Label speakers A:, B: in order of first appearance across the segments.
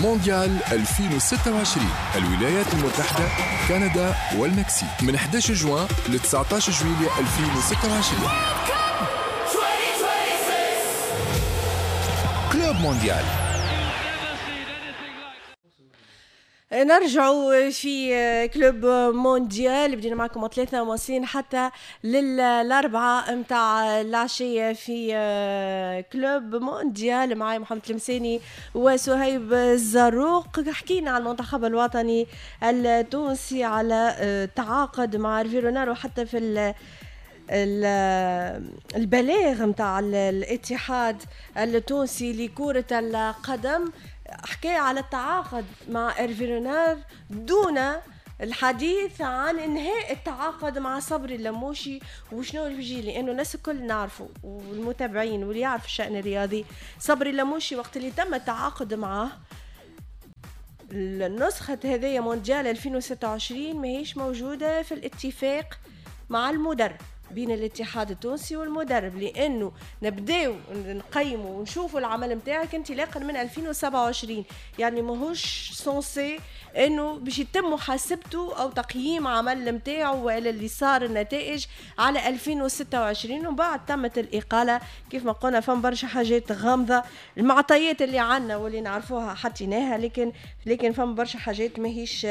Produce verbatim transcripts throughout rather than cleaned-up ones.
A: مونديال ألفين وستة وعشرين، الولايات المتحدة، كندا والمكسيك، من أحد عشر جوان ل تسعة عشر جويلية ألفين وستة وعشرين. Club Mondial.
B: نرجعوا في Club Mondial، بدينا معكم ثلاثة مواصلين حتى للأربعة متاع العشية في Club Mondial. معي محمد المساني وسهيب الزروق. حكينا على المنتخب الوطني التونسي، على تعاقد مع إيرفي رونار، وحتى في البلاغ متاع الاتحاد التونسي لكرة القدم حكى على التعاقد مع إيرفي رونار دون الحديث عن انهاء التعاقد مع صبري اللموشي وشنو اللي بيجي، لانه الناس الكل نعرفه والمتابعين واللي يعرف الشأن الرياضي، صبري اللموشي وقت اللي تم التعاقد معه النسخة هذه مونديال ألفين وستة وعشرين ماهيش موجودة في الاتفاق مع المدرب، بين الاتحاد التونسي والمدرب، لانه نبداو نقيموا ونشوفوا العمل نتاعك انطلاقا من ألفين وسبعة وعشرين، يعني ماهوش censé انه باش يتم محاسبته او تقييم عمل نتاعو والا اللي صار النتائج على ألفين وستة وعشرين. ومن بعد تمت الاقالة كيف ما قلنا، فما برشا حاجات غامضة، المعطيات اللي عندنا واللي نعرفوها حطيناها، لكن لكن فما برشا حاجات ماهيش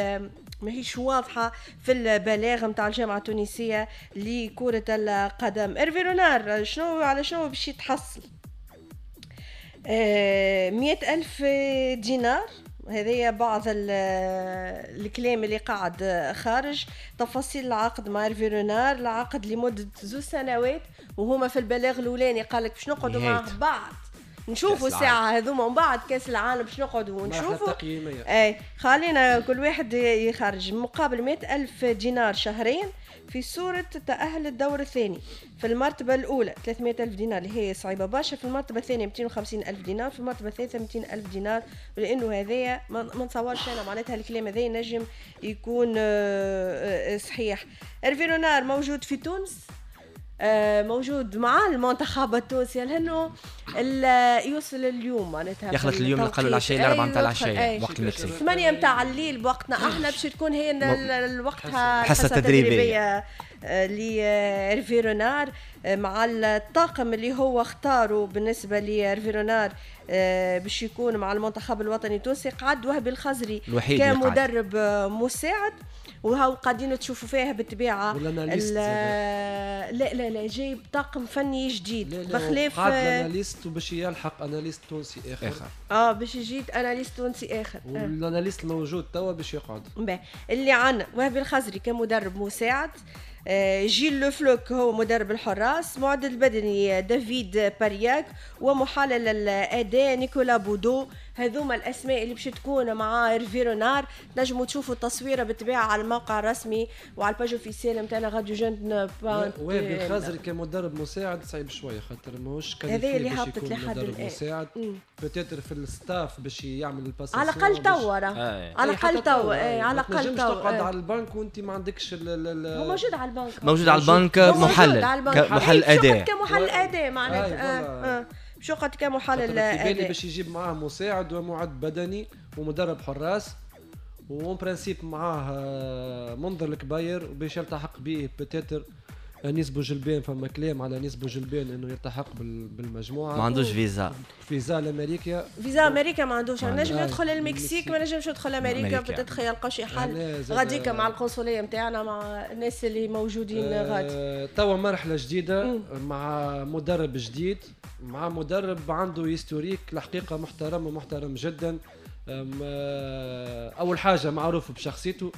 B: ماهيش واضحة في البلاغ نتاع الجامعة التونسية لكرة القدم. إيرفي رونار شنو على شنو باش يتحصل؟ آه مئة ألف دينار، هذه بعض الكلام اللي قاعد خارج. تفاصيل العقد مع إيرفي رونار، العقد لمدة زوج سنوات، وهما في البلاغ الأولاني قال لك باش نقعدوا مع بعض نشوفوا الساعة هذوما ومن بعد كأس العالم باش نقعدوا ونشوفوا. اي خلينا كل واحد يخرج مقابل مئة ألف دينار شهرين في صورة تأهل الدور الثاني. في المرتبة الأولى ثلاثمئة ألف دينار اللي هي صعيبة برشا، في المرتبة الثانية مئتين وخمسين ألف دينار، في المرتبة الثالثة مئتين ألف دينار. لأنه هذايا ما نتصورش أنا معناتها الكلام هذا ينجم يكون صحيح. إيرفي رونار موجود في تونس، موجود مع المنتخب التونسي، لانه يوصل اليوم معناتها
C: يخلط اليوم نقلوا العشية الاربعة نتاع العشية وقت المكسيك،
B: ثمانية نتاع الليل بوقتنا احنا، باش تكون هي وقتها
C: الحصة التدريبية
B: لإيرفي رونار مع الطاقم اللي هو اختاره بالنسبة لإيرفي رونار باش يكون مع المنتخب الوطني التونسي. قعد وهبي الخزري كمدرب مساعد، وهاو قاعدين تشوفوا فيها بالطبيعة. لا لا لا جايب طاقم فني جديد بخلاف
D: قعد analyste وباش يلحق analyste تونسي اخر, آخر.
B: اه باش يجي analyste تونسي اخر،
D: وال analyste الموجود توا باش يقعد.
B: اللي عندنا وهبي الخزري كمدرب مساعد، جيل لوفلوك هو مدرب الحراس، معد البدني دافيد بارياك، ومحلل الاداء نيكولا بودو. هذوما الاسماء اللي باش تكون مع إيرفي رونار. تنجموا تشوفوا التصويره بالطبيعة على الموقع الرسمي وعلى ال page officielle نتاعنا راديو جون.
D: وهبي الخزري كمدرب مساعد صعيب شوية خاطر ماهوش
B: هذا اللي هبطت لحد
D: الان مساعد، peut-être في ال staff باش يعمل ال passation
B: على الاقل توا، على الاقل توا، على الاقل
D: توا تقعد على البنك وانت ما عندكش.
B: هو موجود على البنك،
C: موجود على البنك محلل، محلل اداء،
B: كمحلل اداء معناتها شو قد كمحلل
D: اداء. في بالي باش يجيب معاه مساعد ومعد بدني ومدرب حراس، و en principe معاه منذر الكبير وباش يلتحق به peut-être انيس بوجلبان. فما كلام على انيس بوجلبان انه يلتحق بالمجموعة،
C: ما عندوش فيزا،
D: فيزا لامريكا،
B: فيزا امريكا ما عندوش، نجم يدخل المكسيك ما نجمش يدخل امريكا، peut-être يلقى شي حل غاديكا مع القنصليه نتاعنا مع الناس اللي موجودين آه غادي.
D: توا مرحلة جديدة مم. مع مدرب جديد، مع مدرب عنده historique الحقيقة محترم ومحترم جدا. اول حاجة معروف بشخصيته،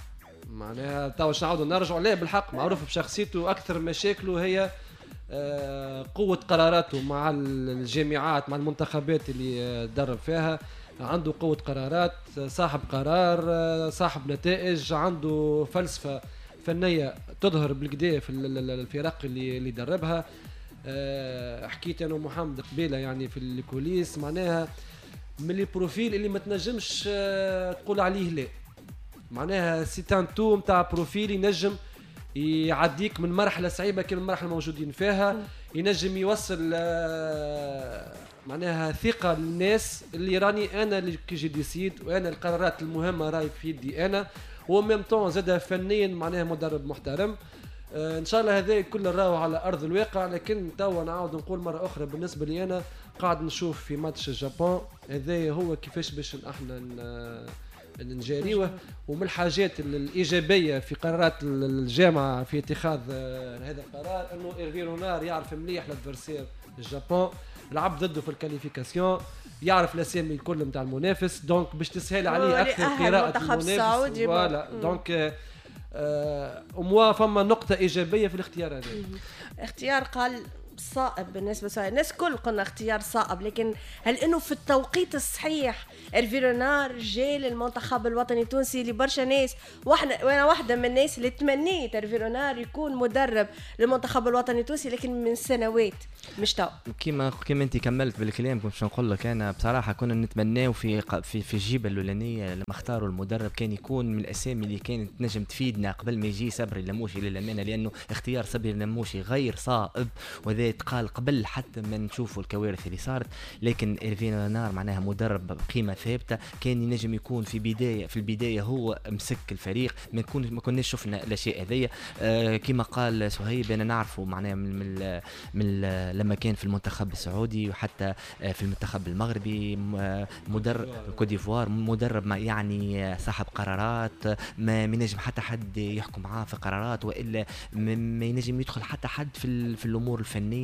D: معناها تو باش نعاودوا نرجعوا ليه بالحق، معروف بشخصيته. اكثر مشاكله هي قوة قراراته مع الجامعات مع المنتخبات اللي درب فيها، عنده قوة قرارات، صاحب قرار، صاحب نتائج، عنده فلسفة فنية تظهر بالكدا في الفرق اللي اللي دربها. حكيت انا ومحمد قبيلة يعني في ال coulisses، معناها من les profils اللي ما تنجمش تقول عليه لا، معناها c'est un tout نتاع profil ينجم يعديك من مرحلة صعيبة كما المرحلة الموجودين فيها، ينجم يوصل معناها ثقة للناس اللي راني انا اللي qui je décide، وانا القرارات المهمة راي في يدي انا، و même temps زاد فنيا معناها مدرب محترم. آه ان شاء الله هذا كل راهو على ارض الواقع. لكن توا نعاود نقول مرة اخرى، بالنسبة لي انا قاعد نشوف في ماتش الجابون هذا هو كيفاش باش احنا نجاريوه. ومن الحاجات الايجابية في قرارات الجامعة في اتخاذ هذا القرار انه ايرفي رونار يعرف مليح l'adversaire الجابون، لعب ضده في ال qualifications، يعرف الاسامي الكل نتاع المنافس، donc باش تسهل عليه اكثر قراءة المنافس. voilà donc au moins فما نقطة ايجابية في الاختيار هذا.
B: اختيار قال صائب بالنسبة لسؤال الناس كل قلنا اختيار صائب، لكن هل انه في التوقيت الصحيح إرفي رونار جاء للمنتخب الوطني التونسي اللي برشا ناس، واحنا وانا واحدة من الناس اللي تمنيت إرفي رونار يكون مدرب للمنتخب الوطني التونسي، لكن من سنوات مش تو.
C: كيما كيما انت كملت بالكلام كنت باش نقول لك انا بصراحة كنا نتمناو في في في الجيبه الاولانية لما اختاروا المدرب كان يكون من الاسامي اللي كانت تنجم تفيدنا قبل ما يجي صبري اللموشي للامانة، لانه اختيار صبري اللموشي غير صائب وهذا تقال قبل حتى ما نشوفوا الكوارث اللي صارت. لكن إرفي رونار معناها مدرب بقيمة ثابتة، كان ينجم يكون في بداية في البداية هو مسك الفريق، ما نكون ما كناش شفنا الاشياء هذيا. آه كما قال سهيب انا نعرفه معناها من من, من لما كان في المنتخب السعودي وحتى في المنتخب المغربي، مدرب كوت ديفوار، مدرب ما يعني صاحب قرارات، ما ينجم حتى حد يحكم معاه في قرارات، والا ما ينجم يدخل حتى حد في في الامور الفنية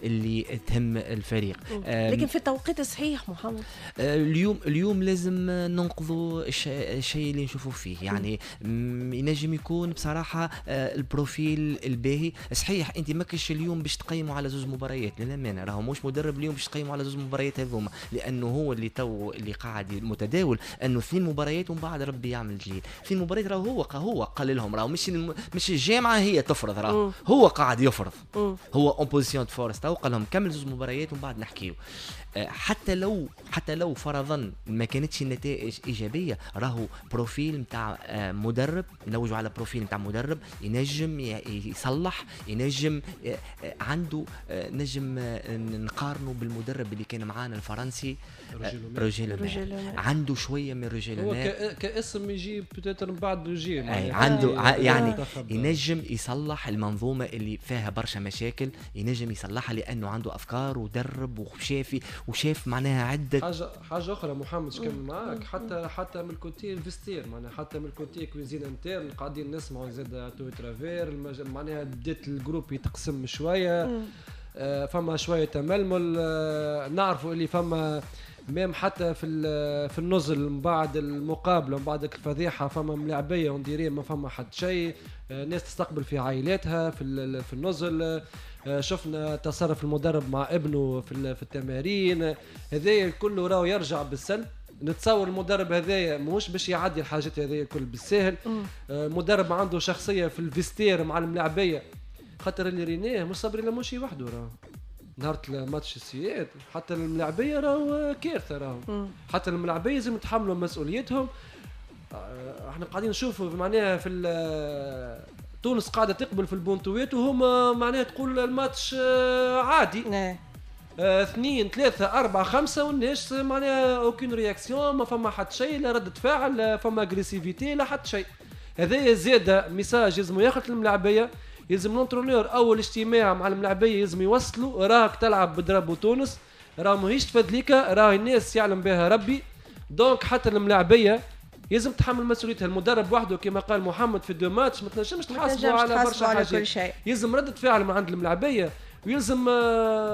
C: اللي تهم الفريق.
B: لكن في التوقيت الصحيح محمد،
C: اليوم اليوم لازم ننقذوا الشيء اللي نشوفوا فيه، يعني ينجم يكون بصراحة ال profil الباهي. صحيح انت ماكش اليوم باش تقيموا على زوج مباريات للامانة، راهو مش مدرب اليوم باش تقيموا على زوج مباريات هذوما، لانه هو اللي تو اللي قاعد متداول انه اثنين مباريات ومن بعد ربي يعمل جيل. اثنين مباريات راهو هو هو قال لهم، راهو مش مش الجامعة هي تفرض، راهو هو قاعد يفرض، هو en position de force تو قال لهم كمل زوج مباريات ومن بعد نحكيو. حتى لو حتى لو فرضا ما كانتش النتائج ايجابية، راهو profil نتاع مدرب، نوجوا على profil نتاع مدرب ينجم يصلح، ينجم عنده، نجم نقارنه بالمدرب اللي كان معانا الفرنسي روجي لومير، عنده شوية من روجي لومير
D: كاسم يجي peut-être من بعد روجي،
C: عنده يعني ينجم يصلح المنظومة اللي فيها برشا مشاكل، ينجم يصلحها لانه عنده افكار ودرب وشافي وشاف معناها عده
D: حاجة. حاجة اخرى محمد كمل معاك، حتى حتى من ال côté ال vestiaire، معناها حتى من ال côté cuisine interne قاعدين نسمعوا زاد à travers، معناها بدات ال groupe يتقسم شوية، آه فما شوية تململ، آه نعرفوا اللي فما même حتى في في النزل من بعد المقابلة من بعد الفضيحة فما ملاعبيه on dirait ما فما حد شيء، آه ناس تستقبل في عائلاتها في في النزل، آه شفنا تصرف المدرب مع ابنه في في التمارين، هذايا الكل راهو يرجع بالسلب. نتصور المدرب هذايا ماهوش باش يعدي الحاجات هذايا الكل بالساهل. آه مدرب عنده شخصية في ال vestiaire مع الملاعبيه، خاطر اللي ريناه مش صبري لموشي وحده، راهو نهار الماتش السياد حتى الملاعبيه راهو كارثة، راهو حتى الملاعبيه لازم يتحملوا مسؤوليتهم. احنا قاعدين نشوفوا معناها في تونس قاعدة تقبل في البونتوات وهما معناها تقول الماتش عادي، اه اثنين ثلاثة أربعة خمسة والناس معناها aucune réaction، ما فما حتى شيء، لا ردة فعل، لا فما agressivité، لا حتى شيء. هذا زاد message لازم ياخذ الملاعبية، يلزم l'entraîneur اول اجتماع مع الملاعبيه يلزم يوصلوا راك تلعب ب drapeau تونس، راه ماهيش تفدليكا، راه الناس يعلم بها ربي. donc حتى الملاعبيه يلزم تحمل مسؤوليتها. المدرب وحده كما قال محمد في deux matchs ما تنجمش تحاسبه على برشا حاجات، يلزم ردة فعل من عند الملاعبيه، ويلزم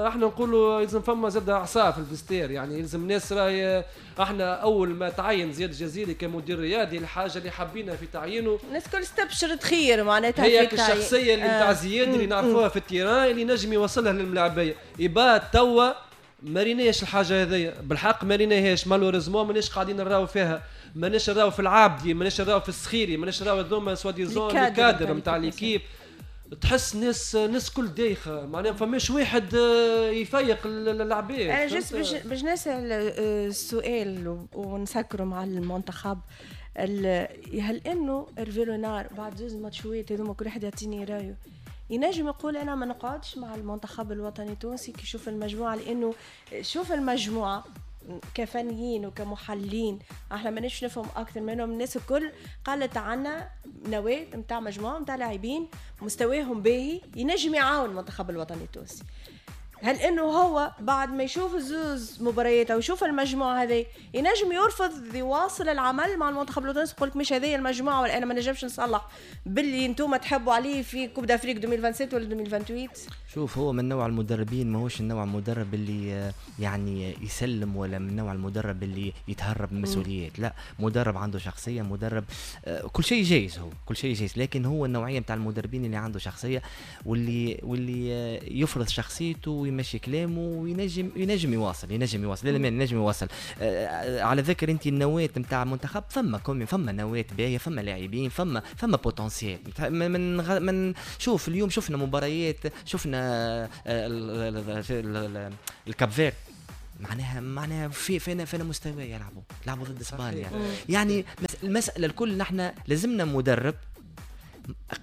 D: احنا نقولوا يلزم فما زاد عصا في ال vestiaire، يعني يلزم ناس راهي. احنا اول ما تعين زياد الجزيري كمدير رياضي الحاجة اللي حبينا في تعيينه
B: الناس كل استبشرت خير، معناتها
D: هي الشخصية اللي نتاع آه. زياد اللي نعرفوها في ال terrain اللي نجم يوصلها للملاعبيه. يبات توا ما ريناش الحاجة هذيا بالحق، ما ريناهاش malheureusement، ماناش قاعدين نراو فيها، ماناش نراو في العابدي، ماناش نراو في السخيري، ماناش نراو هذوما soi-disant les cadres نتاع l'équipe. تحس ناس ناس كل دايخه، معناها ما فماش واحد يفيق العباد.
B: انا juste باش باش نسال السؤال ونسكروا مع المنتخب، هل انه إرفي رونار بعد زوز ماتشوات هذوما كل واحد يعطيني رايه، ينجم يقول انا ما نقعدش مع المنتخب الوطني التونسي كي يشوف المجموعة، لانه شوف المجموعة كفنيين وكمحللين احنا ماناش نفهم اكثر منهم. الناس الكل قالت عنا نواه نتاع مجموعة نتاع لاعبين مستواهم باهي ينجم يعاون المنتخب الوطني التونسي. هل انه هو بعد ما يشوف زوز مباريات او يشوف المجموعة هذه ينجم يرفض يواصل العمل مع المنتخب الوطني، يقول لك مش هذه المجموعة ولا انا ما نجمش نصلح باللي انتم تحبوا عليه في Coupe d'Afrique ألفين وسبعة وعشرين ولا ألفين وثمانية وعشرين؟
C: شوف، هو من نوع المدربين ماهوش النوع المدرب اللي يعني يسلم، ولا من نوع المدرب اللي يتهرب من المسؤوليات. لا، مدرب عنده شخصية، مدرب كل شيء جايز، هو كل شيء جايز، لكن هو النوعية نتاع المدربين اللي عنده شخصية واللي واللي يفرض شخصيته ويمشي كلامه وينجم ينجم يواصل ينجم يواصل لا لا ينجم يواصل. على ذكر انت النواة نتاع المنتخب، فما كومي، فما نواه باهيه، فما لاعبين، فما فما potentiel. من من شوف اليوم شفنا مباريات، شفنا ال Cap-Vert، معناها معناها في فينا فينا مستوى يلعبوا لعبوا ضد اسبانيا. يعني المسالة الكل نحن لازمنا مدرب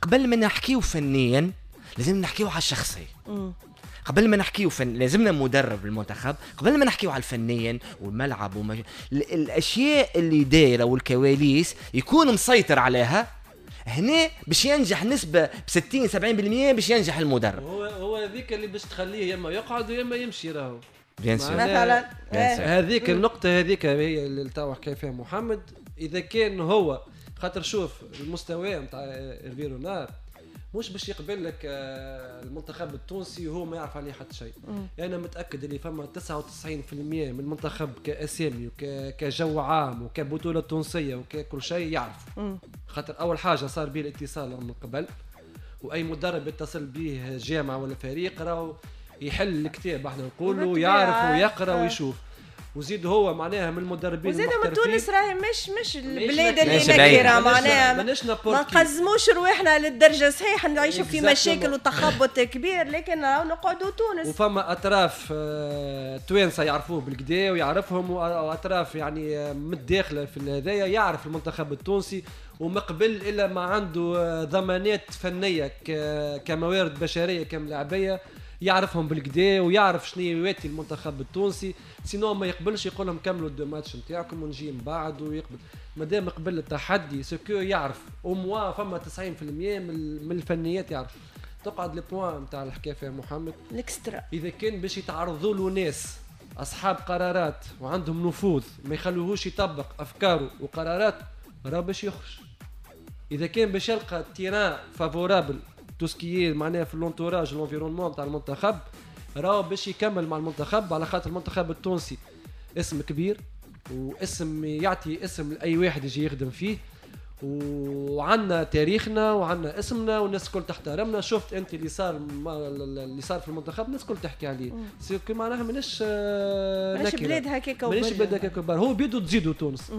C: قبل ما نحكيو فنيا لازم نحكيو على الشخصية. قبل ما نحكيو فن لازمنا مدرب المنتخب قبل ما نحكيو على الفنيا والملعب وما... الاشياء اللي دايرة والكواليس يكون مسيطر عليها. هنا باش ينجح نسبه ب ستين سبعين بالمية باش ينجح المدرب.
D: هو هو هذيك اللي باش تخليه يا اما يقعد يا اما يمشي، راهو
C: bien sûr
B: مثلا
D: هذيك النقطة هذيك هي اللي تو حكى فيها محمد. اذا كان هو خاطر شوف المستوى نتاع إيرفي رونار مش باش يقبل لك المنتخب التونسي وهو ما يعرف عليه حتى شيء. انا متاكد اللي فما تسعة وتسعين بالمية من المنتخب كاسامي وكجو عام وكبطوله تونسية وككل شيء يعرف. خاطر اول حاجة صار به الاتصال من قبل، واي مدرب يتصل به جامعه ولا فريق راهو يحل الكتاب، احنا نقولوا يعرف ويقرا ويشوف. وزيد هو معناها من المدربين
B: وزيد من تونس راهي مش مش البلاد اللي نكره، معناها ما نقزموش رواحنا للدرجة. صحيح نعيشوا في مشاكل وتخبط كبير، لكن نقعدوا تونس.
D: وفما اطراف توانسة يعرفوه بالكدا ويعرفهم، واطراف يعني متداخلة في هذايا يعرف المنتخب التونسي وما قبل الا ما عنده ضمانات فنية كموارد بشرية كملاعبيه يعرفهم بالكدا ويعرف شنو يواتي المنتخب التونسي. sinon ما يقبلش يقول لهم كملوا ال deux matchs نتاعكم ونجي من بعد ويقبل. مادام قبل التحدي ce que يعرف au moins فما تسعين بالمية من الفنيات يعرف. تقعد le point نتاع الحكاية فيها محمد
B: ال extra،
D: اذا كان باش يتعرضوا له ناس اصحاب قرارات وعندهم نفوذ ما يخلوهوش يطبق افكاره وقراراته راه باش يخرج. اذا كان باش يلقى terrain favorable tout ce qui معناها في l'entourage l'environnement تاع المنتخب راهو باش يكمل مع المنتخب، على خاطر المنتخب التونسي اسم كبير واسم يعطي اسم لاي واحد يجي يخدم فيه، وعندنا تاريخنا وعندنا اسمنا والناس الكل تحترمنا. شفت انت اللي صار اللي صار في المنتخب الناس الكل تحكي عليه، c'est que معناها ماناش
B: ماناش بلاد هكاك،
D: ماناش بلاد هكاك وبر، هو بيدو تزيدوا تونس.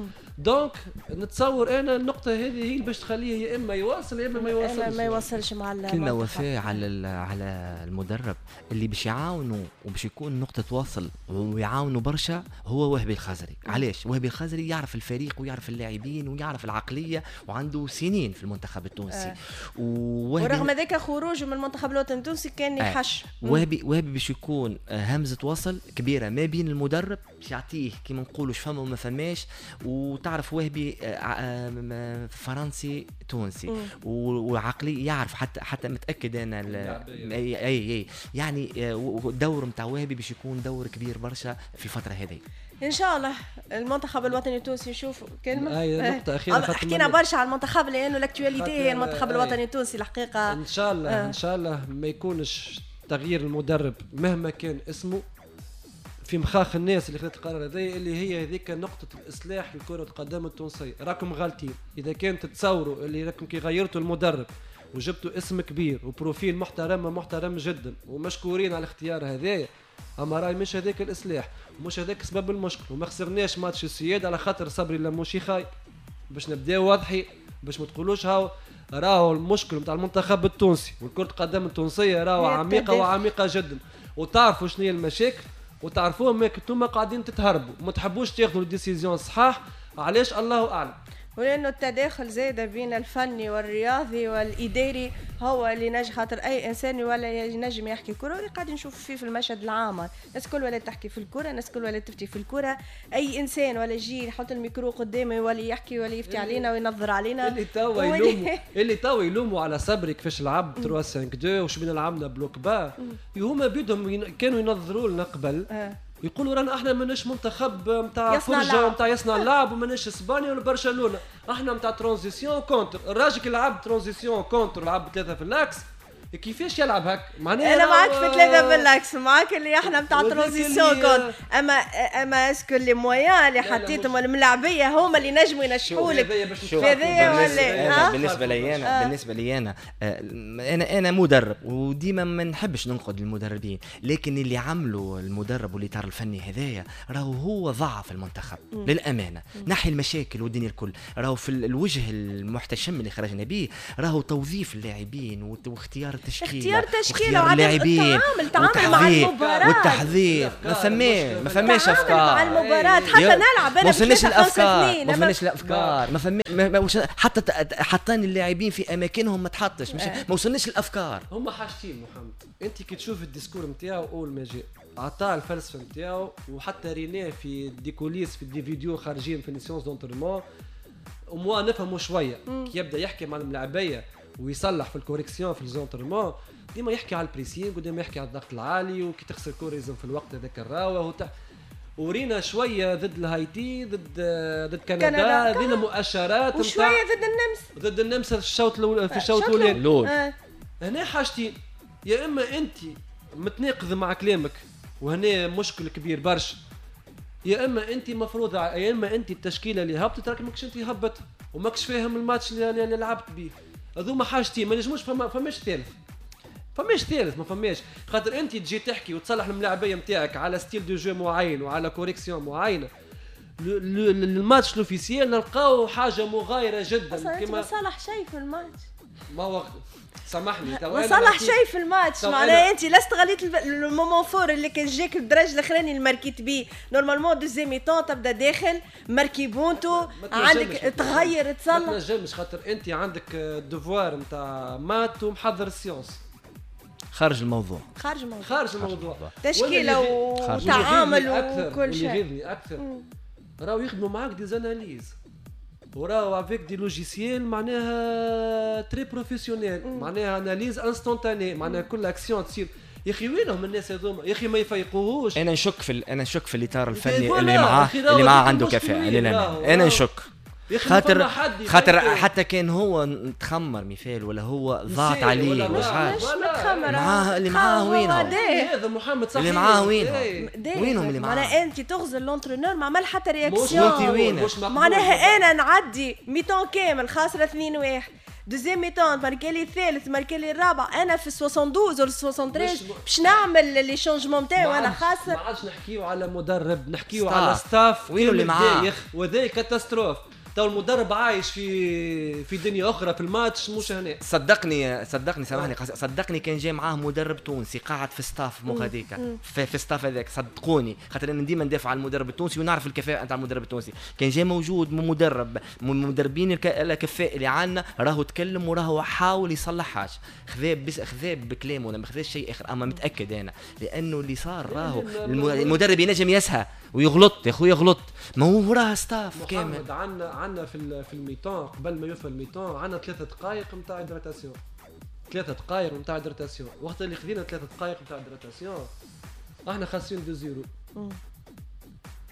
D: donc نتصور انا النقطة هذه هي اللي باش تخليه يا اما يواصل يا اما ما يواصلش.
B: ما يواصلش مع
C: كلمة وفاء على على المدرب اللي باش يعاونوا وباش يكون نقطة وصل ويعاونوا برشا هو وهبي الخزري. علاش وهبي الخزري؟ يعرف الفريق ويعرف اللاعبين ويعرف العقلية وعنده سنين في المنتخب التونسي. آه.
B: ورغم ذلك خروجه من المنتخب الوطني التونسي كان يحش. آه.
C: وهبي وهبي باش يكون همزه وصل كبيرة ما بين المدرب باش يعطيه كيما نقولوا فما وما فماش. وتعرف وهبي فرنسي تونسي وعقلي يعرف، حتى حتى متاكد انا اي اي يعني الدور نتاع وهبي باش يكون دور كبير برشا في الفترة هذه
B: ان شاء الله. المنتخب الوطني التونسي نشوف كلمة
D: اي نقطة اخيرة،
B: حكينا برشا على المنتخب لانه l'actualité هي المنتخب الوطني التونسي الحقيقة.
D: ان شاء الله آه. ان شاء الله ما يكونش تغيير المدرب مهما كان اسمه في مخاخ الناس اللي خذت القرار هذا، اللي هي هذيك نقطة الاصلاح لكرة القدم التونسية. راكم غالطين اذا كان تتصوروا اللي راكم كي غيرتوا المدرب وجبتوا اسم كبير و profil محترم محترم جدا ومشكورين على الاختيار هذايا، اما راي مش هذاك الاصلاح ومش هذاك سبب المشكل. وما خسرناش ماتش السياد على خاطر صبري لموشي خايب، باش نبداو واضحين باش ما تقولوش هاو راهو المشكل نتاع المنتخب التونسي والكرة القدم التونسية راهو عميقة وعميقه جدا، وتعرفوا شنو هي المشاكل وتعرفوهم، ما انتم قاعدين تتهربوا وما تحبوش تاخذوا ال décisions صحاح. علاش؟ الله اعلم.
B: ولانه التداخل زاد بين الفني والرياضي والاداري هو اللي نجح، خاطر اي انسان ولا ينجم يحكي كره، واللي قاعد نشوف فيه في المشهد العام، الناس الكل ولا تحكي في الكره، الناس الكل ولا تفتي في الكره، اي انسان ولا يجي يحط الميكرو قدامه يولي يحكي ولا يفتي علينا وينظر علينا.
D: اللي توا يلوموا اللي توا يلوموا على صبري كيفاش لعب ثلاثة خمسة اثنين وش بينا لعبنا bloc bas، هما بيدهم كانوا ينظروا لنا قبل أه. يقولوا رانا احنا ماناش منتخب نتاع فرجه نتاع يصنع اللعب، وماناش اسبانيا ولا برشلونة، احنا نتاع transition contre. الراجل اللي لعب transition contre لعب ثلاثة في l'axe، كيفاش يلعب هك؟
B: معناها انا معاك في ثلاثة في l'axe، معاك اللي احنا نتاع transition contre، اما اما est-ce que les moyens اللي حطيتهم الملاعبيه هما اللي نجموا ينجحوا لك
C: هذايا ولا؟ بالنسبة لي انا بالنسبة لي انا انا انا مدرب وديما ما نحبش ننقد المدربين، لكن اللي عملوا المدرب والاطار الفني هذايا راهو هو ضعف المنتخب للامانة، نحي المشاكل والدنيا الكل، راهو في الوجه المحتشم اللي خرجنا به راهو توظيف اللاعبين واختيار التشكيلة،
B: اختيار تشكيله وعدم التعامل تعامل مع المباراة
C: والتحضير، ما فماش ما فماش افكار
B: مع المباراة، حتى نلعب انا
C: ما وصلناش الافكار، ما فماش الافكار، ما فما حتى حطان اللاعبين في اماكنهم ما تحطش، مش ما وصلناش الافكار.
D: هما حاجتين محمد، انت كي تشوف ال discours نتاعو اول ما جاء عطاه الفلسفة نتاعو، وحتى ريناه في des coulisses في des vidéos خارجين في les séances d'entraînement، وموا نفهموا شوية كي يبدا يحكي مع الملاعبيه ويصلح في ال correction في les entraînements، ديما يحكي على ال pressing وديما يحكي على الضغط العالي وكي تخسر كورة لازم في الوقت هذاك الراوه وتح... ورينا شوية ضد الهايتي، ضد ضد كندا، رينا مؤشرات
B: وشوية ضد النمسا،
D: ضد النمسا في الشوط الاول، في الشوط الاولاني. آه. هنا حاجتين، يا اما انت متناقض مع كلامك وهنا مشكل كبير برشا، يا اما انت مفروض، يا اما انت التشكيلة اللي هبطت راك ماكش انت هبط وماكش فاهم الماتش اللي لعبت به. هذوما حاجتين ما نجموش، فما فماش ثالث، فماش ثالث، ما فماش، خاطر انت تجي تحكي وتصلح الملاعبيه نتاعك على style de jeu معين وعلى correction معينة، ال match l'officiel نلقاو حاجة مغايرة جدا.
B: كما ما صلح شيء في الماتش،
D: ما هو سامحني
B: ما صلح شيء في الماتش، معناها انت لا استغليت ال moment fort اللي كان جاك الدرج الاخراني اللي ماركيت بيه، normalement deuxième mi-temps تبدا داخل marqué بونتو، عندك تغير تصلح،
D: ما تنجمش خاطر انت عندك devoir نتاع maths ومحضر ال sciences.
C: خارج الموضوع،
B: خارج الموضوع،
D: خارج الموضوع،
B: تشكيله وتعامل وكل شيء.
D: اللي يغيظني اكثر راهو يخدموا معاك des analyses وراهو avec des logiciels معناها très professionnels، معناها analyse instantanée، معناها كل اكسيون تصير. يا اخي وينهم الناس هذوما؟ يا اخي ما يفيقوهوش.
C: انا نشك في انا نشك في الاطار الفني اللي معاه اللي معاه عنده كفاءة للامانة، انا نشك خاطر خاطر حتى كان هو تخمر مثال ولا هو ضاعت عليه
B: مش عارف متخمر
C: معاه اللي معاه وينهم
D: هذا محمد صحيح
C: اللي معاه وينهم وينهم اللي معاه.
B: معناها انت تغزل l'entraîneur ما عمل حتى réaction، معناها انا نعدي mi-temps كامل خاسرة اثنين واحد، deuxième mi-temps ماركالي الثالث ماركالي الرابع، انا في اثنين وستين ولا ثلاثة وستين باش نعمل les changements تاعي وانا خاسر.
D: ما عادش نحكيو على مدرب، نحكيو على staff
C: وينو اللي معاه،
D: وذا catastrophe. تو المدرب عايش في في دنيا اخرى في الماتش مش هنا.
C: صدقني صدقني سامحني صدقني كان جاي معاه مدرب تونسي قاعد في staff مو هذيك في, في staff هذاك، صدقوني خاطر انا ديما ندافع على المدرب التونسي ونعرف الكفاءة نتاع المدرب التونسي. كان جاي موجود مدرب من المدربين الكفاء اللي عندنا راهو تكلم وراهو حاول يصلح حاجة، خذا بس خذا بكلامه ما خذاش شيء اخر. اما متاكد انا لانه اللي صار راهو المدرب ينجم يسهى ويغلط يا خويا يغلط، ما هو راه staff كامل.
D: عندنا عندنا في في ال mi-temps قبل ما يوفى ال mi-temps عندنا ثلاثة دقائق نتاع hydratation، ثلاثة دقائق نتاع hydratation. وقت اللي خذينا ثلاثة دقائق نتاع hydratation احنا خاسرين deux zéro.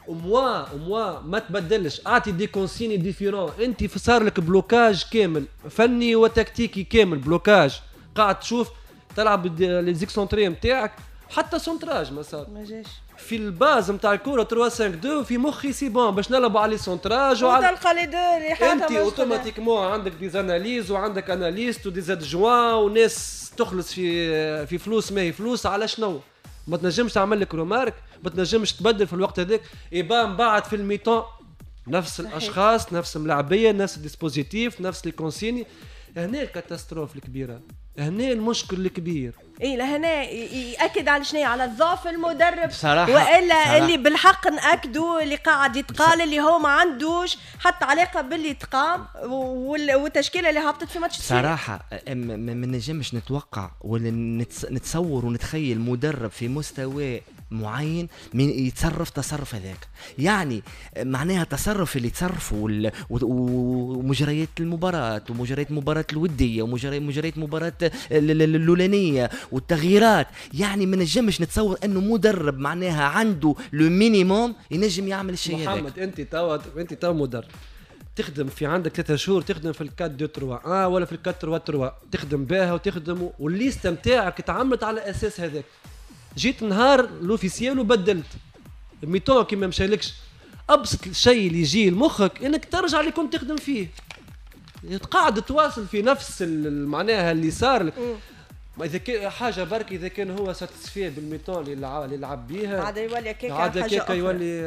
D: au moins au moins ما تبدلش، اعطي des consignes différentes. انت صار لك blocage كامل فني وتكتيكي كامل blocage، قاعد تشوف تلعب les excentrés نتاعك حتى centrage ما صار
B: ما جاش
D: في ال base نتاع الكره ثلاثة خمسة اثنين في مخي c'est bon باش نلعبوا على les centrages
B: وعلى تلقى les deux اللي
D: حاطه انت automatiquement عندك des analyses وعندك analystes و des adjoints وناس تخلص في في فلوس ما هي فلوس على شنو ما تنجمش تعمل لك remarque، ما تنجمش تبدل في الوقت هذاك. يبان بعد في ال mi-temps نفس صحيح. الاشخاص نفس الملاعبيه نفس ال dispositif نفس les consignes. هنا ال catastrophe الكبيرة هنا المشكل الكبير.
B: اي لهنا ياكد على شنو؟ على ضعف المدرب
C: بصراحة،
B: والا
C: بصراحة.
B: اللي بالحق ناكدوا اللي قاعد يتقال اللي هو ما عندوش حتى علاقة باللي تقام والتشكيله اللي هبطت في ماتش
C: صراحة. ما نجمش نتوقع ولا نتصور ونتخيل مدرب في مستوى معين من يتصرف تصرف هذاك، يعني معناها التصرف اللي تصرفوا ومجريات المباراة ومجريات المباراة الودية ومجريات المباراة الاولانية والتغييرات، يعني ما نجمش نتصور انه مدرب معناها عنده le minimum ينجم يعمل الشيء هذاك.
D: محمد انت توا انت توا مدرب تخدم في عندك ثلاثة شهور، تخدم في ال quatre deux trois اه ولا في ال quatre trois trois، تخدم بها وتخدم وال liste نتاعك تعملت على اساس هذاك. جيت نهار l'officiel وبدلت mi-temps كي ما مشالكش، ابسط شيء اللي يجي لمخك انك ترجع اللي كنت تخدم فيه، تقعد تواصل في نفس معناها اللي صار لك. اذا كان حاجة برك، اذا كان هو satisfait بال mi-temps اللي لعب بيها
B: عاد يولي كيكا،
D: عاد كيكا يولي.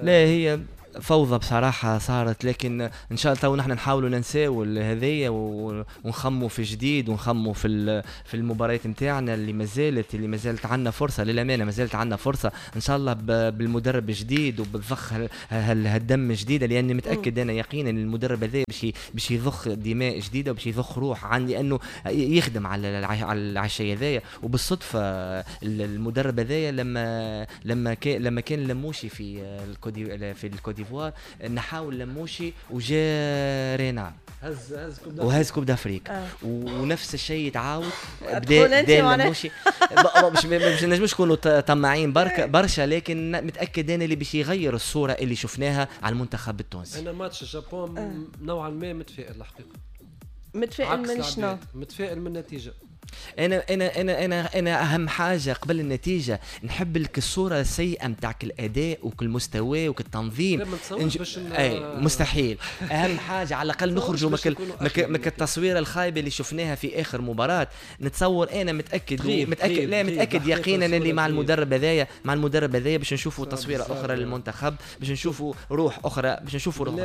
C: لا هي فوضى بصراحة صارت، لكن إن شاء الله تو نحن نحاولوا ننساو هذايا ونخموا في جديد ونخموا في في المباريات نتاعنا اللي ما زالت اللي ما زالت عندنا فرصة، للأمانة ما زالت عندنا فرصة إن شاء الله بالمدرب الجديد وبالضخ هالدم الجديدة، لأني متأكد أنا يقينا المدرب هذا باش باش يضخ دماء جديدة وباش يضخ روح عندي لأنه يخدم على على الشيء هذايا. وبالصدفة المدرب هذايا لما لما كان لما كان لموشي في الكودي في الكودي نحاول لموشي وجا رينار
D: هز هز coupe
C: وهز coupe d'Afrique آه. ونفس الشيء يتعاود بدا بدا لموشي مش مش نجمش نكونوا طماعين برك برشا، لكن متاكد انا اللي باش يغير الصورة اللي شفناها على المنتخب التونسي.
D: انا ماتش الجابون آه. نوعا ما متفائل الحقيقة.
B: متفائل من شنو؟
D: متفائل من النتيجة.
C: انا انا انا انا انا اهم حاجة قبل النتيجة نحب لك الصورة السيئة نتاعك الاداء وكل مستوى وكل التنظيم.
D: انج...
C: اي مستحيل. اهم حاجة على الاقل نخرجوا مك مك التصويره الخايبة اللي شفناها في اخر مباراة. نتصور انا متاكد متاكد لا متاكد يقينا اللي مع المدرب هذايا مع المدرب هذايا باش نشوفوا تصويره اخرى للمنتخب، باش نشوفوا روح اخرى، باش نشوفوا روح.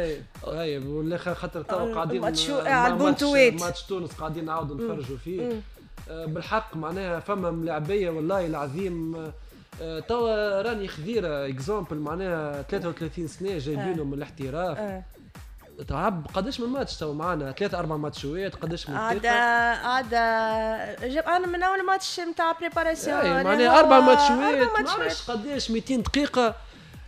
D: اي ولا خاطر تو قاعدين
B: على البونتويت
D: ماتش تونس قاعدين نعاودوا نتفرجوا فيه بالحق. معناها فما ملاعبيه والله العظيم توا راني خذيره exemple معناها ثلاثة وثلاثين سنة جايبينهم من الاحتراف، تعب قداش من ماتش تو معانا ثلاثة أربع ماتشوات قداش من
B: عاد عاد جاب انا من اول ماتش نتاع préparation
D: معناها أربع ماتشوات ما عرفتش قداش مئتين دقيقة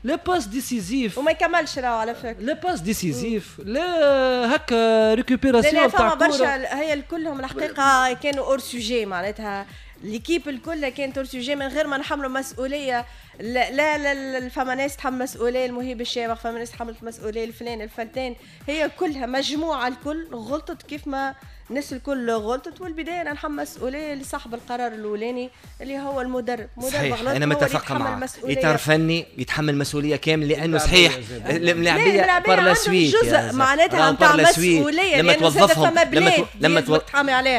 D: لا passe décisive
B: وما يكملش راهو على فكرة،
D: لا passe décisive لا هكا récupération تاع كورة.
B: برشا هي كلهم الحقيقة كانوا hors sujet، معناتها l'équipe الكل كانت hors sujet من غير ما نحملوا مسؤولية. لا لا, لا فما ناس تحمل مسؤولية المهيب الشامخ، فما ناس تحملت مسؤولية الفلان الفلتان، هي كلها مجموعة الكل غلطت كيف ما الناس الكل غلطت. والبداية انا نحمل مسؤولية لصاحب القرار الاولاني اللي هو المدرب.
C: مدرب غلط، انا متفق معك، اطار فني يتحمل مسؤولية كاملة لانه صحيح الملاعبيه par la suite
B: جزء معناتها نتاع مسؤولية
C: لما توظفهم لما تو... لما
B: تو...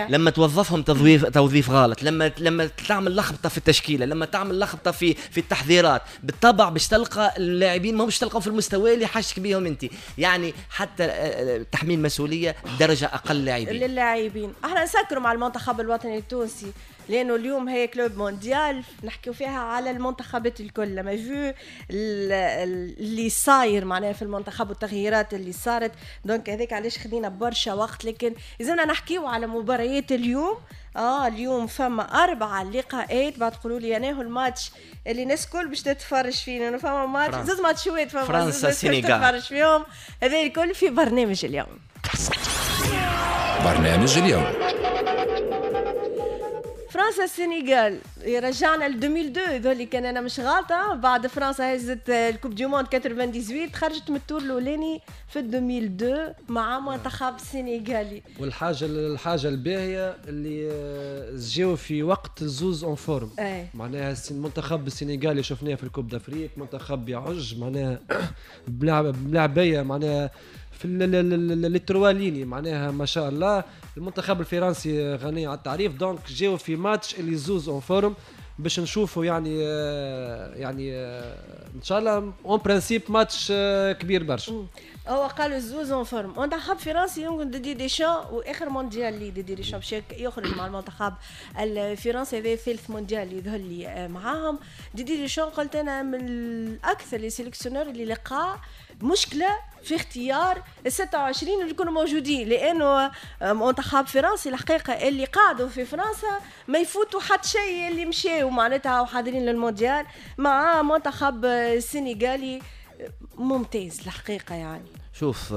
C: لما توظفهم توظيف توظيف غلط، لما لما تعمل لخبطة في التشكيلة، لما تعمل لخبطة في في التحضيرات، بالطبع باش تلقى اللاعبين ما باش تلقاهم في المستوى اللي حاشك بيهم انت. يعني حتى تحميل مسؤولية درجه اقل لاعبين
B: اللاعبين. احنا نسكروا مع المنتخب الوطني التونسي لانه اليوم هي Club Mondial نحكيو فيها على المنتخبات الكل، لما vu اللي صاير معناها في المنتخب والتغييرات اللي صارت، donc هذاك علاش خدينا برشا وقت. لكن لازمنا نحكيو على مباريات اليوم. اه اليوم فما اربعة لقاءات، بعد تقولوا لي انا هو الماتش اللي الناس الكل باش تتفرج فيه، لانه فما ماتش زوز ماتشوات فما
C: فرنسا السنغال
B: تتفرج فيهم، هذا الكل في برنامج اليوم.
A: برنامج اليوم
B: فرنسا السنغال رجعنا ل ألفين واثنين، هذول كان انا مش غلطه. بعد فرنسا هزت ال coupe du monde ثمانية وتسعين خرجت من ال tour الاولاني في ألفين واثنين مع منتخب السنغالي.
D: والحاجة الحاجة الباهيه اللي جاو في وقت زوز en forme، معناها المنتخب السنغالي شفناه في ال coupe d'Afrique منتخب يعج معناها بلعبيه معناها في les trois lignes معناها ما شاء الله. المنتخب الفرنسي غني على التعريف، donc جاو في ماتش اللي زوز en forme. باش نشوفوا يعني يعني ان شاء الله en principe match كبير برشا.
B: هو قالوا الزوز en forme. منتخب فرنسي يمكن ديدي ديشان واخر مونديال لي ديدي ديشان باش يخرج مع المنتخب الفرنسي، هذا ثالث مونديال يظهر لي معاهم. ديدي ديشان قلت انا من اكثر les sélectionneurs اللي لقى مشكلة في اختيار ال ستة وعشرين اللي يكونوا موجودين، لانه منتخب فرنسي الحقيقة اللي قعدوا في فرنسا ما يفوتوا حتى شيء، اللي مشاو معناتها وحاضرين للمونديال مع منتخب السنغالي ممتاز الحقيقة. يعني
C: شوف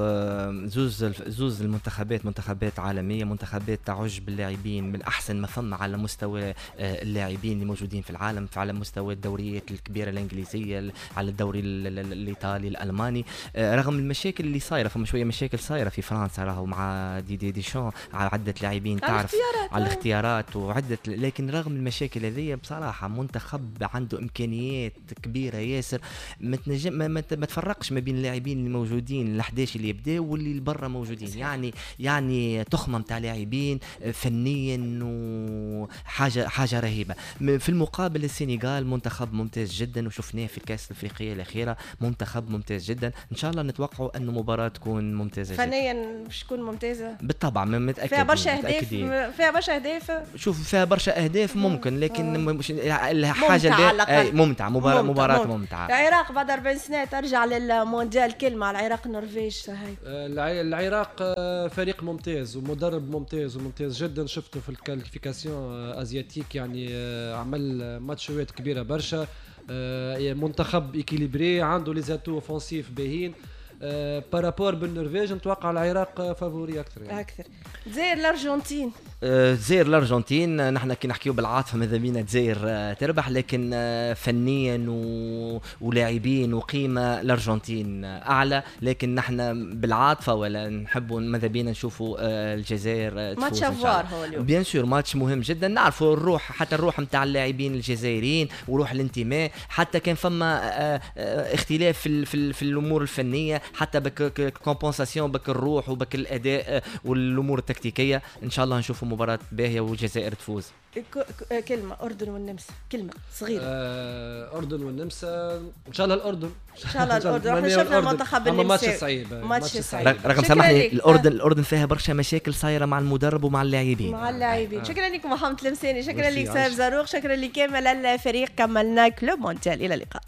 C: زوز زوز المنتخبات منتخبات عالمية، منتخبات تعج باللاعبين من احسن ما فما على مستوى اللاعبين اللي موجودين في العالم، على مستوى الدوريات الكبيرة الانجليزية، على الدوري الايطالي الالماني. رغم المشاكل اللي صايرة، فما شوية مشاكل صايرة في فرنسا راهو مع ديدي ديشان على عده لاعبين، تعرف على الاختيارات وعده، لكن رغم المشاكل هذه بصراحة منتخب عنده امكانيات كبيرة ياسر، ما تنجم ما, ما تفرقش ما بين اللاعبين اللي موجودين احداش اللي يبداو واللي برا موجودين. يعني يعني تخمة نتاع لاعبين فنيا وحاجه حاجة رهيبة. في المقابل السنغال منتخب ممتاز جدا، وشفناه في الكاس الافريقية الاخيرة منتخب ممتاز جدا. ان شاء الله نتوقعوا انه مباراة تكون ممتازة
B: فنيا، باش تكون ممتازة
C: بالطبع، متاكد
B: فيها برشا اهداف، فيها برشا اهداف.
C: شوف فيها برشا اهداف ممكن، لكن مش الحاجة ممتعة، مباراة مباراة ممتعة.
B: العراق بعد أربعين سنة ترجع للمونديال، كلمة على العراق النرويج.
D: العراق فريق ممتاز ومدرب ممتاز وممتاز جدا، شفته في ال qualifications asiatiques، يعني عمل ماتشات كبيرة برشا، منتخب équilibré، عنده les atouts offensifs باهين. par rapport بالنرويج نتوقع العراق favori اكثر يعني.
B: اكثر. الجزائر الارجنتين،
C: الجزائر الارجنتين نحن كي نحكيو بالعاطفه ماذا بينا الجزائر تربح، لكن فنيا و... ولاعبين وقيمه الارجنتين اعلى، لكن نحن بالعاطفه ولا نحبوا ماذا بينا نشوفوا الجزائر
B: تفوز. match à voir هو اليوم،
C: bien sûr match مهم جدا، نعرفوا الروح، حتى الروح نتاع اللاعبين الجزائريين وروح الانتماء، حتى كان فما اختلاف في في, في الامور الفنية، حتى بك compensation بك الروح وبك الاداء والامور التكتيكيه. ان شاء الله نشوفوا مباراة باهيه والجزائر تفوز.
B: كلمة اردن والنمسا، كلمة صغيرة.
D: آه، اردن والنمسا ان شاء الله الاردن،
B: ان شاء الله الاردن. احنا شفنا المنتخب النمساوي
D: ماتش صعيب،
B: ماتش صعيب.
C: رغم سامحني الاردن الاردن فيها برشا مشاكل صايرة مع المدرب ومع اللاعبين،
B: مع اللاعبين. آه. شكرا لكم محمد المساني، شكرا لك سيف زاروق، شكرا لكامل الفريق. كملنا Club Mondial، الى اللقاء.